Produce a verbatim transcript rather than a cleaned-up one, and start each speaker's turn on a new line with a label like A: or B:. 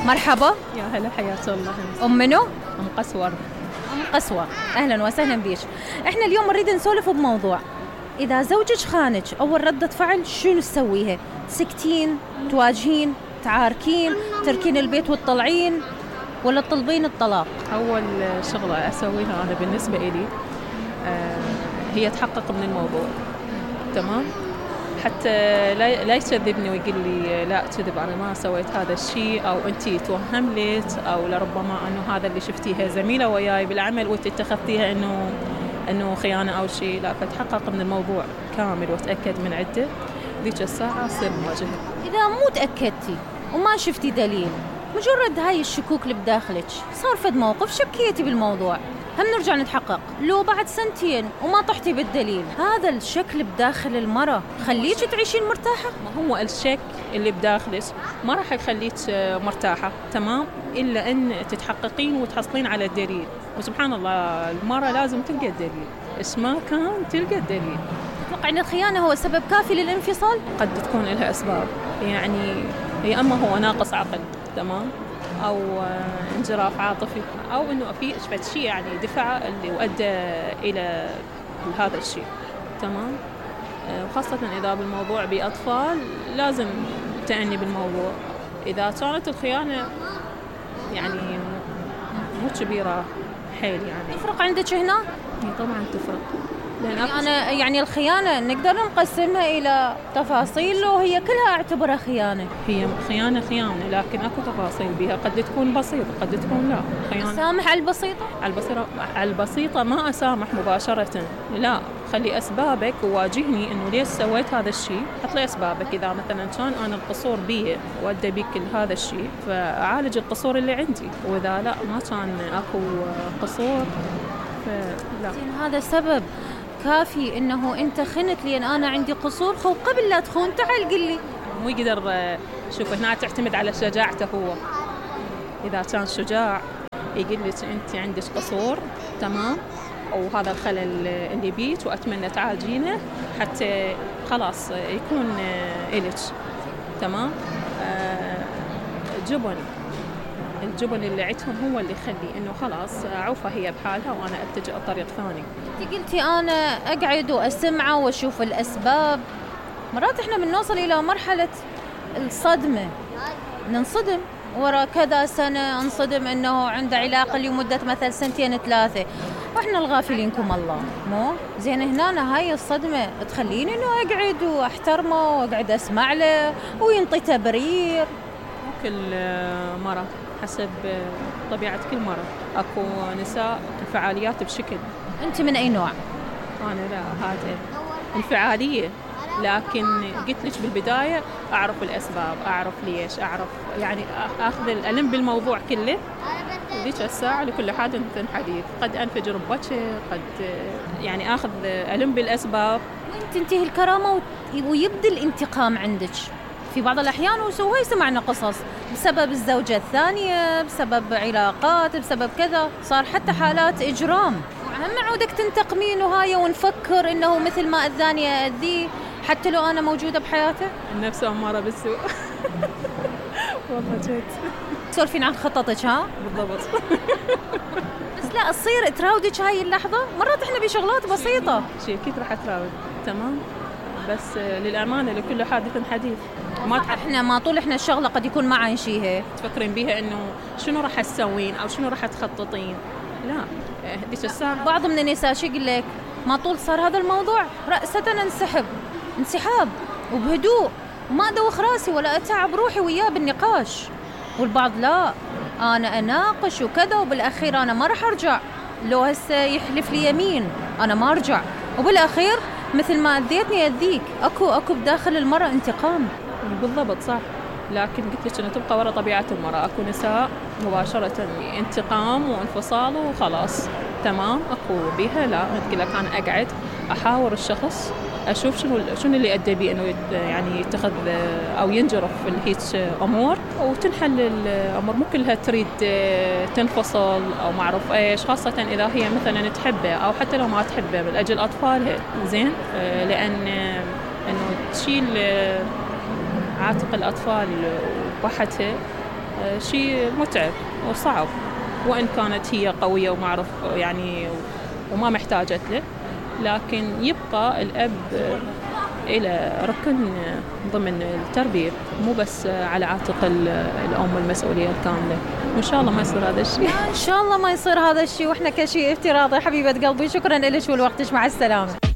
A: مرحبا.
B: يا هلا، حياك الله.
A: أم منو؟
B: أم قسور.
A: أم قسوة، أهلا وسهلا بيش. إحنا اليوم نريد نسولف بموضوع، إذا زوجك خانك أول ردة فعل شنو تسويها؟ تسكتين، تواجهين، تعاركين، تركين البيت وتطلعين، ولا تطلبين الطلاق؟
B: أول شغلة أسويها أنا بالنسبة إلي آه هي تحقق من الموضوع، تمام؟ حتى لا لا يكذبني ويقول لي لا كذب أنا ما سويت هذا الشيء، أو أنتي توهم لك، أو لربما أنه هذا اللي شفتيها زميلة وياي بالعمل وأنت اتخذتيها أنه أنه خيانة أو شيء. لا، فتحقق من الموضوع كامل وتأكد من عدة، ذيك الساعة صير مواجهة.
A: إذا مو تأكدتي وما شفتي دليل، مجرد هاي الشكوك اللي بداخلك، صار فد موقف شكيتي بالموضوع، هم نرجع نتحقق لو بعد سنتين وما طحتي بالدليل، هذا الشكل بداخل المرأة خليك تعيشين مرتاحة؟
B: ما هو الشك اللي بداخلك ما راح يخليك مرتاحة، تمام؟ إلا أن تتحققين وتحصلين على الدليل. وسبحان الله المرأة لازم تلقى الدليل، إيش ما كان تلقى الدليل.
A: تتوقع أن الخيانة هو سبب كافي للانفصال؟
B: قد تكون لها أسباب، يعني هي أما هو ناقص عقل، تمام؟ أو انجراف عاطفي، أو إنه في شفت شيء يعني دفع اللي وأدى إلى هذا الشيء، تمام؟ وخاصة إذا بالموضوع بأطفال لازم تأني بالموضوع. إذا كانت الخيانة يعني مو كبيرة حيل يعني.
A: تفرق عندك هنا؟
B: هي طبعا تفرق،
A: لأن أنا يعني الخيانة نقدر نقسمها إلى تفاصيل وهي كلها أعتبرها خيانة.
B: هي خيانة خيانة، لكن أكو تفاصيل بها، قد تكون بسيطة قد تكون لا.
A: خيانة أسامح على البسيطة؟
B: على البسيطة على البسيطة ما أسامح مباشرة، لا، خلي أسبابك وواجهني إنه ليش سويت هذا الشيء، حط لي أسبابك. إذا مثلا كان أنا القصور بي وأدى بك هذا الشيء فأعالج القصور اللي عندي، وإذا لا ما كان أكو قصور فلا.
A: هذا سبب كافي إنه أنت خنت لي، أنا عندي قصور، خو قبل لا تخون تعال قل لي.
B: مو يقدر. شوف هنا تعتمد على شجاعته هو. إذا كان شجاع يقول لك أنت عندك قصور، تمام، أو هذا الخلل اللي بيك وأتمنى تعالجينه حتى خلاص يكون إلك، تمام. آه جبن الجبن اللي عندهم هو اللي يخلي إنه خلاص عوفة هي بحالها وأنا أتجه طريق ثاني.
A: أنت قلتي أنا أقعد وأسمعه وأشوف الأسباب. مرات إحنا بنوصل إلى مرحلة الصدمة، ننصدم ورا كذا سنة، انصدم إنه عنده علاقة لمدة مثل سنتين ثلاثة، وإحنا الغافلينكم الله مو زين. هنا هاي الصدمة تخليني إنه أقعد وأحترمه وأقعد أسمع له وينطي تبرير.
B: كل مرة حسب طبيعة كل مرة، أكو نساء الفعاليات بشكل.
A: أنت من أي نوع؟
B: أنا لا، هذا الفعالية، لكن قلت لك بالبداية أعرف الأسباب، أعرف ليش، أعرف يعني أخذ الألم بالموضوع كله. ذيك الساعة لكل حاجة مثل حديث، قد أنفجر بوجه، قد يعني أخذ ألم بالأسباب.
A: تنتهي الكرامة ويبدأ الانتقام عندك في بعض الأحيان. وسوي سمعنا قصص بسبب الزوجة الثانية، بسبب علاقات، بسبب كذا، صار حتى حالات إجرام. هم عودك تنتقمين وهاي ونفكر إنه مثل ما أذاني أذيه حتى لو أنا موجودة بحياته.
B: النفس أمارة بالسوء. والله جد.
A: تسولفين عن خططك ها؟
B: بالضبط.
A: بس لا تصير تراودك هاي اللحظة. مرات إحنا بشغلات بسيطة.
B: شيء أكيد راح تراود، تمام. بس للأمانة لكل حادث حديث.
A: ما احنا ما طول احنا الشغله قد يكون ما عايشيها
B: تفكرين بيها انه شنو راح تسوين او شنو راح تخططين. لا، هذيك الساعه
A: بعض من النساء شو يقول لك ما طول صار هذا الموضوع رأسة انسحب انسحاب وبهدوء وما ادوخ راسي ولا اتعب روحي وياه بالنقاش. والبعض لا، انا اناقش وكذا وبالاخير انا ما راح ارجع، لو هسه يحلف لي يمين انا ما ارجع، وبالاخير مثل ما اذيتني اذيك. اكو اكو بداخل المرأة انتقام.
B: بالضبط صح، لكن قلت لك انه تبقى وراء طبيعه المراه. اكو نساء مباشره انتقام وانفصال وخلاص، تمام. اكو بيها لا، تقول لك انا اقعد احاور الشخص، اشوف شنو شنو اللي ادى بي انه يعني يتخذ او ينجرف في هيك امور وتنحل الامور. مو كلها تريد تنفصل او ما اعرف ايش، خاصه اذا هي مثلا تحبه او حتى لو ما تحبه من اجل اطفالها، زين. لان انه تشيل عاتق الأطفال وبحتها شيء متعب وصعب، وإن كانت هي قوية ومعرف يعني وما محتاجت له، لكن يبقى الأب إلى ركن ضمن التربية، مو بس على عاتق الأم المسؤولية الكاملة. وإن شاء الله ما يصير هذا الشيء.
A: إن شاء الله ما يصير هذا الشيء، وإحنا كشيء افتراضي. حبيبة قلبي شكرا لك ولوقتك، مع السلامة.